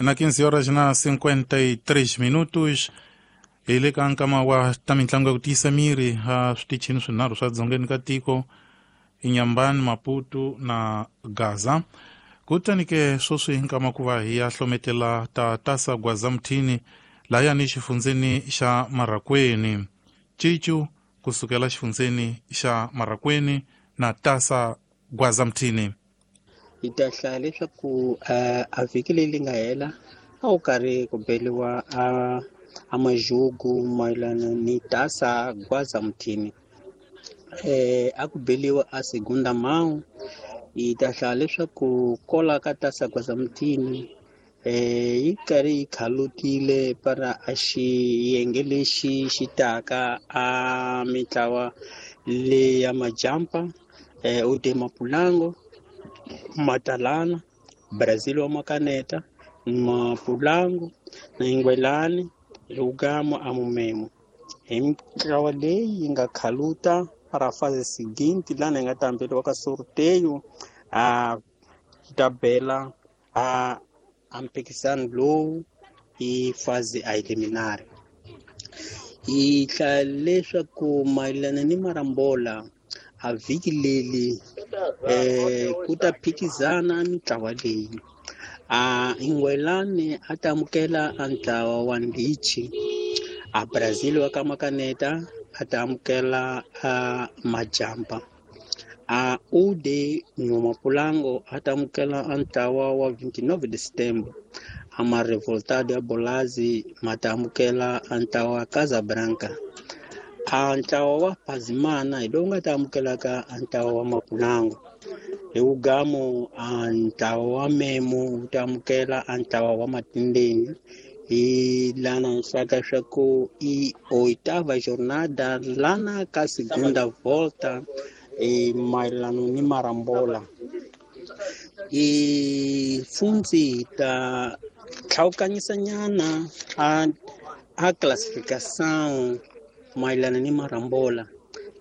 Na 15 horas na 53 minutos, hi le ka nkama wa ta mitlangu ya ku tiyisa miri a switichini swinharhu swa dzongeni ka tiko, Inyambani, Maputo na Gaza. Kutani ke sweswi nkama ku va hi ya hlometela ta Tasa Gwaza-Muthini layani xifundzeni xa Marracuene. Cicu kusukela xifundzeni xa Marracuene na Tasa Gwaza-Muthini. Hi ta hlaya leswaku a vhiki leyi nga hela a wu karhi ku beliwa a majugu mayelana ni Tasa Gwaza-Muthini. A ku beliwa a segunda mão. Hi ta hlaya leswaku kola ka Tasa Gwaza-Muthini yi karhi yi khalutile para a xiyenge lexi xi taka a mitlawa leya majampa, u Mapulango, Matalana, Brazil wa Makaneta, Mapulango na Ingwelani, Lugamo a Mumemo. Hi mitlawa leyi yi nga khaluta para fase seguinte lana yi nga ta hambeliwa ka sorteio a ta bela a mphikizano lowu i fase a eliminare. Hi hlaya leswaku mayelana ni marambola a vhiki leri ku ta phikizana mitlawa leyi. A Ingwelani a ta amukela a ntlawa wa Ndichi, a Brazil wa ka Makaneta a ta amukela a Majampa, a Ude Nhomapulango a ta amukela a ntlawa wa 29 de Setembro, a Marevoltado ya Bolazi ma ta amukela a ntlawa wa Casablanca, a ntlawa wa Pazimana hi lowu nga ta amukelaka a ntlawa wa Mapulango. Hi wugamo a ntlawa wa Memo wu ta amukela a ntlawa wa Matindeni. Hi lana nhlaka swa ku i oitava jornada lana ka segunda volta e mayelano ni marambola. I fundzi ta tlhawukanyisa nyana a classificação mayelana ni marambola.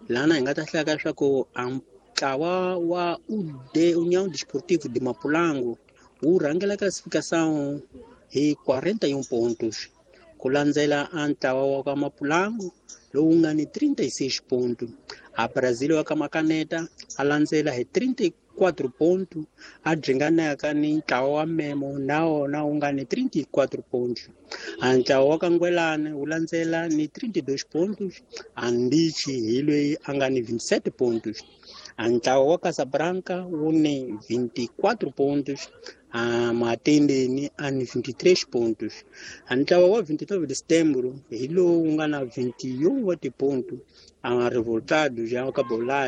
Lana hi nga ta hlaya swa ku a ntlawa wa UD União Desportivo de Mapulango wu rhangela classificação hi 41 pontos, ku landzela a ntlawa wa ka Mapulango lowu nga ni 36 ponto. A Brazil wa ka Makaneta a landzela hi 34 ponto, a dringanaka ni ntlawa wa Memo na wona wu nga ni 34 ponto. A ntlawa wa ka Ngwelani wu landzela ni 32 pontos, a Ndichi hi loyi a nga ni 27 pontos. A ntlawa wa Casablanca wu ni 24 pontos, a Matendeni a ni 23 pontos. A ntlawa wa 29 de Setembro hi lowu nga na 21 wa tiponto. A Revoltado ya ka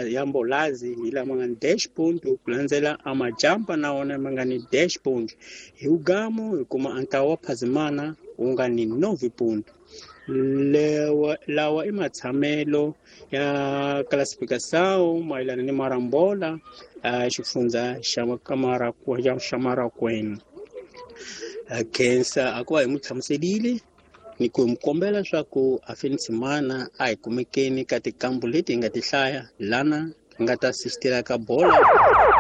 ya Mbolazi hi lama nga ni 10 ponto, ku landzela a Majampa na wona ma nga ni 10 ponto. Hi wugamo hi kuma a ntlawa wa Phazimana wu nga ni 9 ponto. Lawa i matshamelo ya classificação mayelana ni marambola xifundza xa xa Marracuene. Khensa a ku va hi n'wi hlamuselile ni ku hi kombela swa ku a Phoenix mana a hi kumekeni ka tikambu leti hi nga ti hlaya lana hi nga ta assistela ka bola.